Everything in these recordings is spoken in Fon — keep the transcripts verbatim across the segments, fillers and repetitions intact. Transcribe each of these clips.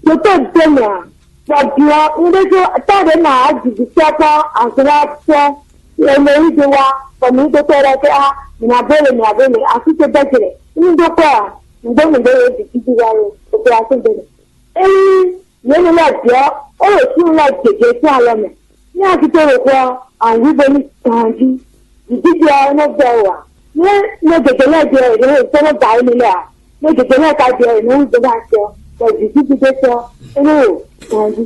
Ɖo tó dó mɛ a? Bɔ bia un ɖé tó tá ɖě nɔ ajivǐtɔ́ kpɔ́ azɔ̌watɔ́ lɛ́ɛ mɛ yí do wá, bɔ mǐ dó tɔ́ lɛ́ɛ kɛ á, mǐ ná bó le, mǐ ná bó le, así tó bɛ́ jɛ. Un ɖó kɔ a? Nǔgbó nǔgbó yě bǐ títí wá lo, opération dó mɛ. Ényí yě nu lɛ́ɛ bǐ ɔ́, é ɖo súnnu lɛ́ɛ gěgé sín alɔ mɛ. Ní a tito ɖo xó ɔ́, a nǐ yí bo ní ganjí. Vǐ dídí ɔ́, é nɔ́ vɛ́ wǎ. Ní mɛ gěgé lɛ́ɛ jɛ è nɔ́ sɔ́ nɔ́ ba émí lɛ́ɛ ǎ. Mɛ gěgé lɛ́ɛ ka jɛ è nɔ́ wú dó ná acɛ, bɔ vǐ dídí ɖé tɔ́, é nɔ́ ɖo ganjí.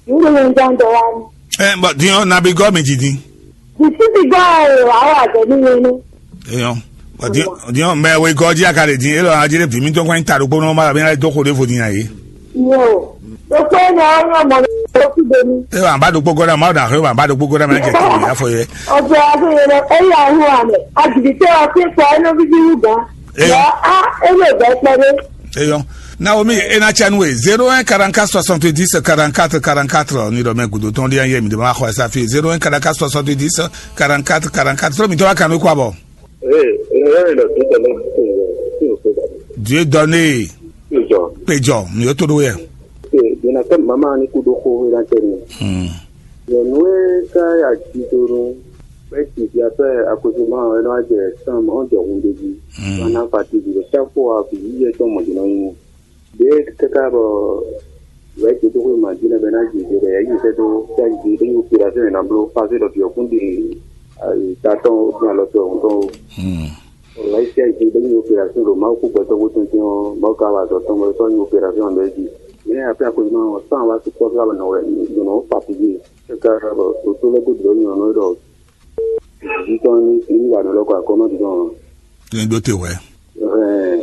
Nǔ ɖé nyɛ ján dɔ wá ní. Ɛ bɔ din ɔ́, nabi gɔ́ mi ji din. Vǐ dídí gɔ́ ɔ́, wǎ wà jɛ ní nyɛ ní. Eyɔn, bɔ din din ɔ́, mɛ we gɔ́ jí a ka ɖe din, élɔ́ a jí ɖé vǐ mítɔn kɔn nyi ta ɖokpó nɔ́ ma bɛ ná dó xo ɖěvo din a yě. Yo, ɖokpó énɛ́ ɔ́ nyɔ́ mɔ ní ɖokú ɖe ní. Ewɔ aba ɖokpó gɔ́ ɖa, Mawu ɖa xwé aba ɖokpó gɔ́ ɖa mɛ jɛ tɛnɛ afɔ yɛ. Ọ̀pọ̀ àgbẹ̀yẹ̀rọ ẹ̀yà ahọ́n àmì àjìbìtẹ́ ọtí pa ẹnu bíbí wúgà. Eyɔn. Yọ á ẹnu ìgbà pẹ́rẹ́. Eyɔn. Naomi, ena tsa nu e zéro un quarante-quatre soixante-dix quarante-quatre quarante-quatre ni ɖɔ mɛ gudo tɔn ɖi ayé mi ɖe ma xɔ ɛsa fi zéro un quarante-quatre soixante-dix quarante-quatre quarante-quatre. Trɔ mi tɔ wa kanu kɔ abɔ. Ee, ena yɔ mi ɖɔ tó tɔ lɛ tó tɔ. Dieu donné. Péjọ. Péjọ, mi yóò tó ɖó yɛ. Ee, yɛn na kɛ mama ni kú ɖó xó yɛn na kɛ mi. Hmm. Nyɔnu e ka ya ji do nu, bɛ ti di afɛ akozuma ɔn, ɛnɔ ajɛ san mɔ jɔ hun de ji. Hmm. Wana fati di bɛ chaque fois bi yi yɛ tɔn mɔ di nɔ nyi. Ɖe kaka bɔ wɛ ti do ko ma di nɛ bɛ na ji de bɛ yi sɛ do ta ji de yi opération na blo passer ɖɔ bi ɔkun di ta tɔn o, alɔ tɔn o. Hmm. Walayi sia yi ɖe nyi opération ɖo Mawu kú gbɛtɔ́ bó tɔn tɛn ɔ́, Mawu ka wa azɔ̌ tɔn bɔ é sɔ́ nyi opération ɔ́ ɖ'é jí. Mɛ nya afin akwɛ́ ma ɔ́, sán wa sukpɔ́ fí wá nɔ wɛ ɖo nɔ fatigué. É ka ɖɔ ɖo tó lɛ́ɛ godo ɖɔ nyɔ̌nu ɖɔ vǐ tɔn ní ní wa nɔ lɔ kɔ akɔ́nɔ din ɔ́. Ní ɖó te wɛ. Ɛhɛn.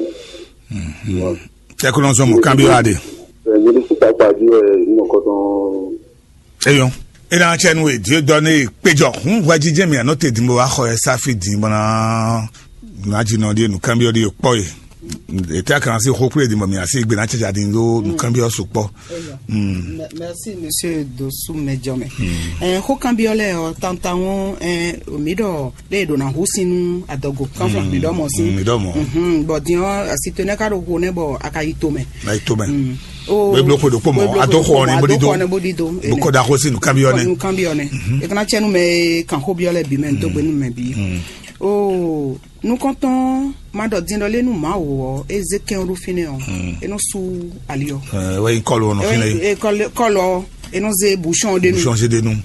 Tɛkɔnɔzɔn mɔ kanbyɔ aɖe. Ɛɛ, nyɛ ɖésú kpakpa jí wɛ nɔ kɔtɔn. Eyɔn. Ena tsɛ nu e Dieu donné péjɔ hun hwɛjijɛ mi anɔ te dimbo wa xɔ ɛ safi din bɔna. Na dzi nɔ ɖie nukɛnbyɔ ɖie kpɔ ye. Ete akan asi xo kple dimbo mi asi gbe na tsɛtsɛ din ɖo nukɛnbyɔ su kpɔ. Eyɔn. Mɛ- merci monsieur Dosu mɛjɔ mɛ. Ɛɛ xo kanbyɔ lɛ ɔ tantan ŋu ɛɛ mi ɖɔ ɖe ɖo na hu sinu adɔgo kanfla mi ɖɔ mɔ si. Mi ɖɔ mɔ. Bɔn din ɔ asi to ne ka ɖo xo ne bɔ a ka yi to mɛ. Na yi to mɛ. Beblo ko ɖokpó mɔ, ado xɔ ɔnɛ bó ɖi do. Bó kɔ da xó sí nukánbyɔ nɛ. Nukánbyɔ nɛ. E kana tsɛ nu mɛ kan xó byɔ lɛ bi mɛ, n tó gbe nu mɛ bi. Oo, nukɔntɔn ma ɖɔ din ɖɔ lé nu ma wò ɔ, e zé kɛn ɖo fínɛ ɔ, e nɔ su ali ɔ. Ɛ wɛ yi kɔlu ɔnɔ fínɛ yi. Kɔlɔ e nɔ zé bouchon de nu. Bouchon zé de nu.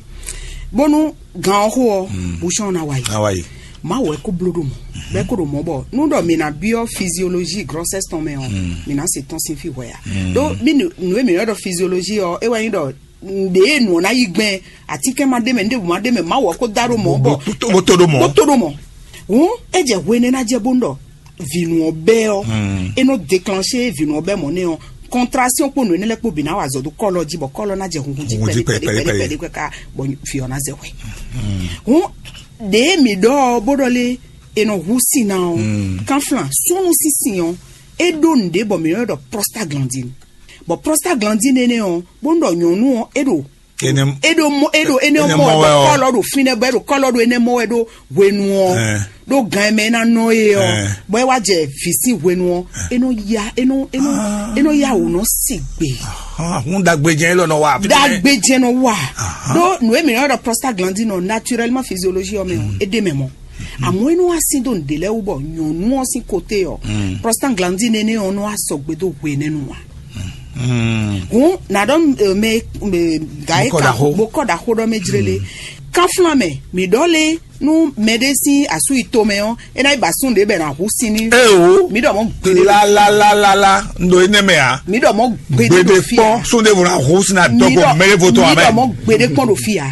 Bónú gan ɔ́ xo ɔ́, bouchon ná wa yi. Awa yi. Mawu wɛ kó bló ɖo mɔ̌, bɔ é kó ɖo mɔ̌ bɔ nú ɖɔ mǐ ná byɔ́ physiologie grossesse tɔn mɛ ɔ́, mǐ ná se tɔ́n sín fí hwɛ ǎ. Ɖó mí nǔ nǔ e mǐ ylɔ́ ɖɔ physiologie ɔ́, é wɛ nyí ɖɔ nǔɖé nǔ ɔ́ ná yí gbɛn, atínkɛn ma ɖ'é mɛ, nǔɖé bǔ ma ɖ'é mɛ, Mawu wɛ kó dá ɖó mɔ̌ bɔ bó tó ɖó mɔ. Bó tó ɖó mɔ. Hǔn é jɛ hwenɛ́ ná jɛ bónú ɖɔ vǐnu ɔ́ bɛ́ ɔ́, é nɔ déclencher vǐnu ɔ́ bɛ́ mɔ̌ nɛ́ ɔ́, contraction kpó nǔ énɛ́ lɛ́ɛ kpó bǐ ná wa azɔ̌ dó kɔ́lɔ jí bɔ kɔ́lɔ ná jɛ hunhun jí Hunhun jí pɛɖi pɛɖi pɛɖi pɛɖi pɛɖi pɛɖi. Pɛɖi pɛɖi ká bɔ fí ɔ́ ná zɛ hwɛ. Hǔn ɖěe mǐ ɖɔ ɔ́ bó ɖɔ lé è nɔ hu sin ná ɔ́, kanflan súnnu sín sin ɔ́, é ɖó nǔɖé bɔ mǐ nɔ ɖɔ prostaglandine. Bɔ prostaglandine énɛ́ ɔ́, bónú ɖɔ nyɔ̌nu ɔ́ é ɖo Énɛ́ é ɖo mɔ é ɖo énɛ́ énɛ́ mɔ mɔ wɛ wɛ ɔ. Kɔlɔ ɖo fínɛ́ bɔ é ɖo kɔlɔ ɖo énɛ́ mɔ wɛ ɖo hwenu ɔ́. Ɛɛ. Ɖó gan e mɛ é ná nɔ é ɔ́, Ɛɛ. Bɔ é wá jɛ vǐ sín hwenu ɔ́, é nɔ ya é nɔ é nɔ é nɔ ya wǔ nɔ sigbe. Hun dagbe jɛn élɔ́ nɔ wa. Dagbe jɛn nɔ wa. Ɖó nǔ e mǐ nɔ ɖɔ prostaglandine ɔ́, naturellement physiologie ɔ́ mɛ ɔ́, é ɖ'é mɛ mɔ. Àmọ́ é nɔ wá sín dó nǔɖé lɛ́ɛ wú bɔ nyɔ̌nu ɔ́ sín côté ɔ́, prostaglandine énɛ́ ɔ́ nɔ wá sɔgbe dó hwenɛ́nu ǎ. Hǔn nǎ ɖɔ mɛ gǎ é ka bó kɔ ɖaxó ɖɔ mɛ jlélé. Kanflan mɛ mǐ ɖɔ lé nú mɛɖé sín asú yi tomɛ ɔ́, é ná yi ba sún ɖě bɛ ná hu sin ní. Eo. Mǐ ɖɔ mɔ gbeɖé. Lalalala. Ndo énɛ́ mɛ ǎ. Mǐ ɖɔ mɔ gbeɖé. Gbeɖé ɖo fí kpɔn ǎ. Sún ɖé vo ná hu sin adɔgo mɛɖé vo tɔn amɛ. Mǐ ɖɔ mɔ gbeɖé kpɔn ɖo fí ǎ.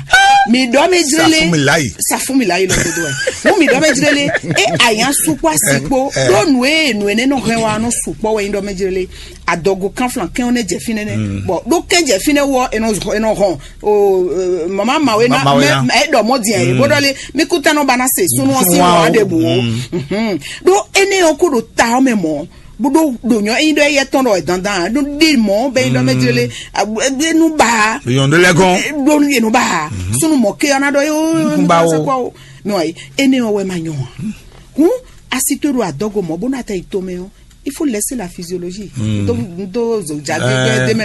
Mǐ ɖɔ mɛ jlélé. Safúnmi láyì. Safúnmi láyì lɔ dodo ɛ. Wọ́n mǐ ɖɔ mɛ jlélé. É àyàn sukpɔ asikpo. Ɖó nù é nù énɛ́ nɔ hɛn wa nɔ sukpɔ wɛ nyí ɖɔ mɛ jlélé. Adɔgo kanflan kɛn ɔ́ nɛ jɛ fínɛ́ nɛ. Bɔn ɖó kɛn jɛ fínɛ́ wɔ enɔ enɔ hɔn o mama mawe na mɛ eɖɔ mɔ diɛ ye bó ɖɔ lé mi kú tɛnɔ ba na se sunu ɔ́ sí wọn aɖe bu o. Ɖó énɛ́ ɔ́ kó ɖo ta ɔ́ mɛ mɔ̌ bó ɖó ɖo nyɔ eyin ɖɔ eyɛ tɔn ɖɔ dandan ɖó ɖe mɔ̌ bɛ yin ɖɔ mɛ jele enu ba Yɔn ɖe lɛ gɔn. Ɖó enu ba sunu mɔ ke ɔ́ na ɖɔ yó Nkunba o. Mɛ wa yi énɛ́ ɔ́ wɛ ma nyɔ ɔ́. Hun asi to ɖo adɔgo mɔ̌ bó ná tɛ yi tomɛ ɔ́. Il faut laisser la physiologie. N tó n tó zòjá gbégbé dé mɛ